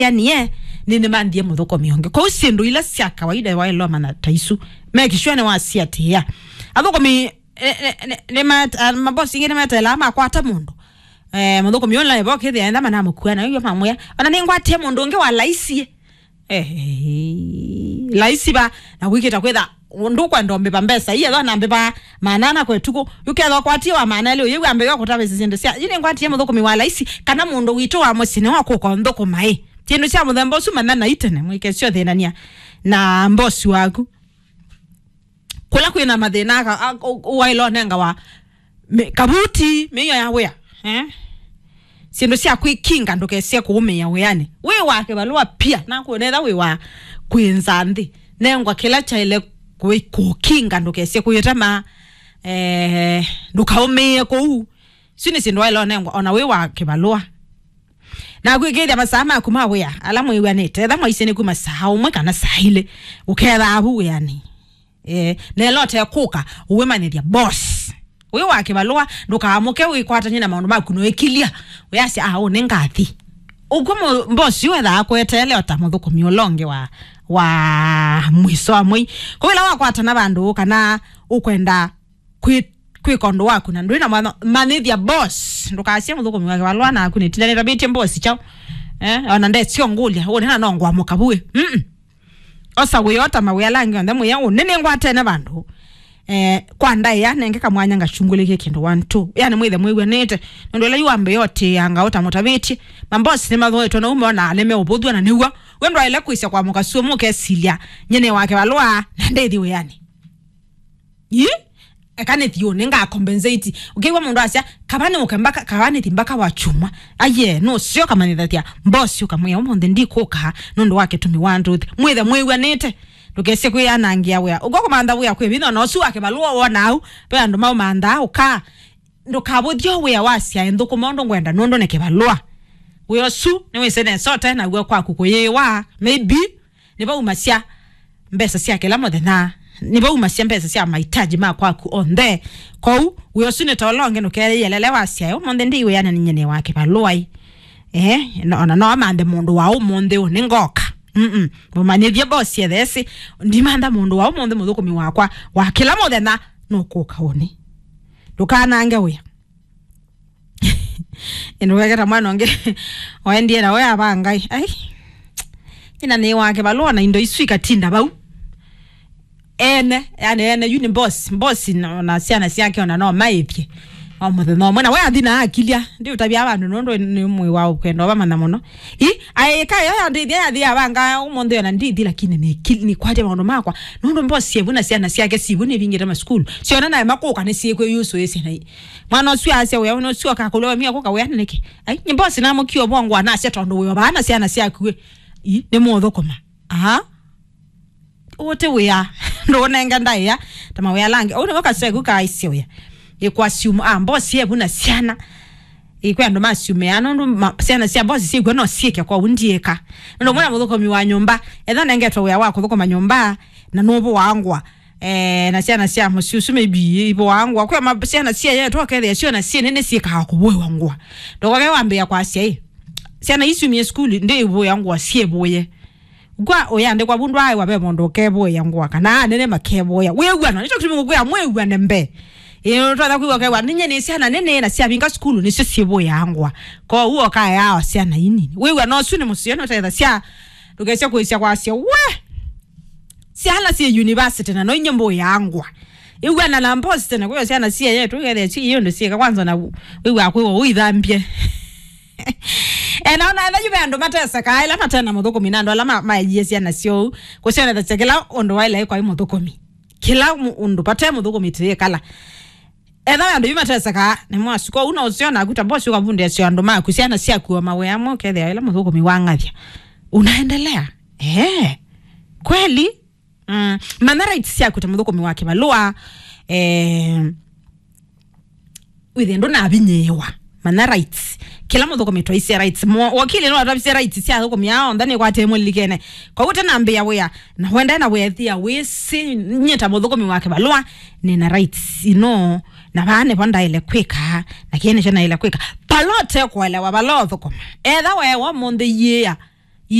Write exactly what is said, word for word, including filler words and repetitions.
yani ye, nĩ nĩmanthie mũthũkũmi ũngĩ. Kwoou syĩndũ ila sya kawaida waĩlwa mana ta isu, make sure nĩwasiatĩĩa. Athũkũmi, eh, eh, nĩ, nĩ mat-, ah, mabosi ingĩ nĩmeteelaa makwata mũndũ. Eh, mũthũkũmi ũla evo kĩthĩa enda manamũkua na iwe mamwĩa, "Ona nĩngwatie mũndũ ũngĩ wa laisi." Eh, laisi va, na kwĩkĩta kwĩtha, ndũkwenda ũmbĩva mbesa, iye thona mbĩva maana ana kwa ĩtukũ, yũkethwa kwatie wa maana elĩ, ũyĩw'a mbĩva kũtavĩsya syĩndũ sya, yu nĩngwatie mũthũkũmi wa laisi, kana mũndũ witũ wa mũsyĩ nĩwakũka ũnthũkũma ĩ. Syĩndũ sya mũthemba ũsu manya na itene, mwĩkesyo thĩnania na mbosi waku. Kũla kwĩna mathĩna aka, a, ũ-, ũwaĩla ũnengawa mĩ-, kavuti, mĩio ya wĩa, eh? Syĩndũ sya kwĩkinga ndũkesye kũũmĩĩa wĩanĩ. Wĩ wa kĩvalũa pia, na kũnetha wĩ wa kwĩnza nthĩ. Nengwa kĩla kyaĩle kwĩ-, kũkinga ndũkesye kũyĩtema, eh, ndũkaũmĩĩe kũu. Isu nĩ syĩndũ waĩla ũnengwa, ona wĩ wa kĩvalũa. Na kwĩkĩĩthya masaa maku ma wĩa, ala mwĩw'anĩte, etha mwaisye nĩ kuma saa ũmwe kana saa ilĩ, ũketha avu wĩanĩ. Eh, nelo te kũka, ũwĩmanyĩthya boss. Wĩ wa kĩvalũa, ndũkaamũke wĩkwatany'e na maũndũ maku noĩkilya. Wĩasya, "Ah, ũũ nĩ ngathi." Ũkw'o mũ-, boss yu ethaa kweteele o ta mũthũkũmi ũla ũngĩ wa, wa mwiso wa mwei. Kwa ĩla wakwatana vandũ kana ũkwenda kwĩ-, kwĩka ũndũ waku na ndwĩ na mwanya, manyĩthya boss. Ndũkasye mũthũkũmi wa kĩvalũa naku nĩtila nĩtavĩtye boss kyaũ. Eh, ona ndesyo ngũlya, ũnena no ngwamũka vuĩ. Mm-mm. Osa wĩota mawĩa ala angĩ onthe mwĩa ũnene ngwatene vandũ. Eh, kwa ndaĩa, nenge kamwanya ngachungũlĩkie kĩndũ one, two. Yani mwĩthe mwĩw'anĩte. Nũndũ ĩla yu wambĩĩa ũtĩĩanga ũtamũtavĩtye. Mabosi nĩmathũĩtwe na umona nĩmeũvũthw'a na nĩw'o. We ndwaĩle kwĩsya kwa mũkasuo mũkesilya. Nyene wake valũa na ndĩthi wĩanĩ. Ĩ? Eka nĩthi ũnĩ nga compensate. Ũkĩw'a mũndũ asya, "Kava nĩ ũke mbaka, kava nĩthi mbaka wa chuma." Aye, nũseo kamanyĩthasya, boss ũkamwĩa, "Ũmũnthĩ ndikũka, nũndũ wa kĩtumi wa ndũthi." Mwĩthe mwĩw'anĩte. Ndũkesye kwĩyanangĩa wĩa. Ũko kũmantha wĩa kwĩ vinya, na ũsu wake valũa wona au, ve andũ maũmanthaa, ũka. Ndũkavũthye wĩa wa syaĩ nthũkũma ũndũ ngwenda, nũndũ nĩ kĩvalũa. Wĩa ũsu, nĩwĩsĩ nesa ũte naw'o kwaku kũyĩĩwa, maybe. Nĩvaumasya mbesa sya kĩla mũthenya. Nĩvaumasya mbesa sya mahitaji ma kwaku onthe. Kwoou, wĩa ũsu nĩ ta ũla ũngĩ nũkeeyelele wasyae, "Ũmũnthĩ ndĩ wĩanĩ nĩ nyene wa kĩvalũai." Eh, no, ona no amanthe mũndũ wa ũmũnthĩ ũnĩ ngoka. Mm-mm. Mũmanyĩthye boss ethesĩ, "Ndimantha mũndũ wa ũmũnthĩ mũthũkũmi wakwa, wa kĩla mũthenya nũkũka ũnĩ." Ndũkanange wĩa. Ĩndĩ weketa mwana ũngĩ, waendie na we avangai. Ai. Ina nĩ wake valũa na indo isu ikatinda vau. Ene, yani ene, yu nĩ boss, boss na, na syana syake ona no maĩthye. O mũthenya ũmwe, na we athi na akilya, ndi ũtavya vandũ nũndũ nĩ mwĩ wa ũkwenda, vamanya mũno. I, aĩka yo ya ndĩthya yathi avanga ũmũnthĩ ona ndithi, lakini nĩ kil-, nĩ kwatya maũndũ makwa. Nũndũ boss yevu na syana syake sivu nĩvingĩte masukulu. Syona naye makũka nĩ syĩkwĩ yusũ ĩsĩ na i. Mwana ũsu asya wĩa, ũna ũsu akakũlwa mia kũka wĩa nĩkĩ? Ai, nĩ boss namũkie ũvongwa nasya tondũ wĩ o vaa na syana syaku ĩ. I, nĩ mũthũkũma. Aha. Ũte wĩa. Ndũnenga ndaĩa. Ta mawĩa langi. Ũu nĩwo kaseku kaisye wĩa. Ĩkwa siumu, ah, boss yevu na syana. Ĩkwa andũ masiumĩa, nũndũ ma-, syana sya boss syĩkw'a no syĩke kwa undiĩka. Nũndũ mwana mũthũkũmi wa nyũmba. Etha nengetwe wĩa wa kũthũkũma nyũmba. Na nũvũangwa. Eh, na syana sya mũsyĩ ũsu maybe ivũangwa. Kwĩ ma-, syana sya yetu ũkethĩa syona syĩ nene syĩkaa kũvũĩwa ngũa. Ndokoke wambĩa kwasya ĩ. Syana isumie sukulu, ndi ivũĩa ngũa syĩvũĩe. Kwa ũyandĩkwa vu ndwaaĩwa ve mũndũ ũkevũĩa ngũa, kana anene makevũĩa. Wĩw'ano, nĩkyo kĩtumi ngũkwĩa mwĩw'ane mbee. Ĩĩ, ũtonya kwĩw'a ũkew'a, "Ninye nĩ syana nene na syavinga sukulu nĩsyo syĩvũĩaa ngũa." Kwoou ũkaeaa o syana inini. Wĩw'ano ũsu nĩ mũseo, nũtethasya ndũkesya kwĩsya kwasya, "We! Syana syĩ university na no inye mbũĩaa ngũa." Ĩw'ana na mbosi tena, kwĩo syana syĩ yetu, ĩkethĩa syĩ ĩũndũ syĩka kwanza na wĩw'aa kwĩw'a ũithambye. E, na ona ethĩwa ve andũ matesekaa, ĩla mate na mũthũkũmi, na andũ ala ma-, maeyie syana syoo, kũsyonethasya kĩla ũndũ waĩle kwaĩ mũthũkũmi. Kĩla mũ-, ũndũ vate mũthũkũmi tĩĩkala. Ethĩwa andũ yu matesekaa, nĩ mwasuko, ũu no ũseo naku ta bosi ũkavundĩasya andũ maku, syana syaku o mawĩa amwe, ũkethĩa ĩla mũthũkũmi wang'athya. Unaendelea? Eh, kweli? Mm, manya rights syaku ta mũthũkũmi wa kĩvalũa, eh, wĩthĩe ndũnavinyĩĩwa. Manya rights. Kĩla mũthũkũmi twaisye rights. Mo-, wakili no atavisye rights sya athũkũmi aa onthe nĩkwatĩe mũlilikene. Kwoou ũtanambĩĩa wĩa, na wenda na wĩthĩa wĩsĩ, nyie ta mũthũkũmi wa kĩvalũa, nĩna rights ino, na vaa nĩvo ndaĩle kwĩka, na kĩĩ nĩkyo naĩle kwĩka. Vala ũtekũelewa, vala ũthũkũma. Etha weewa mũnthĩ yĩĩa,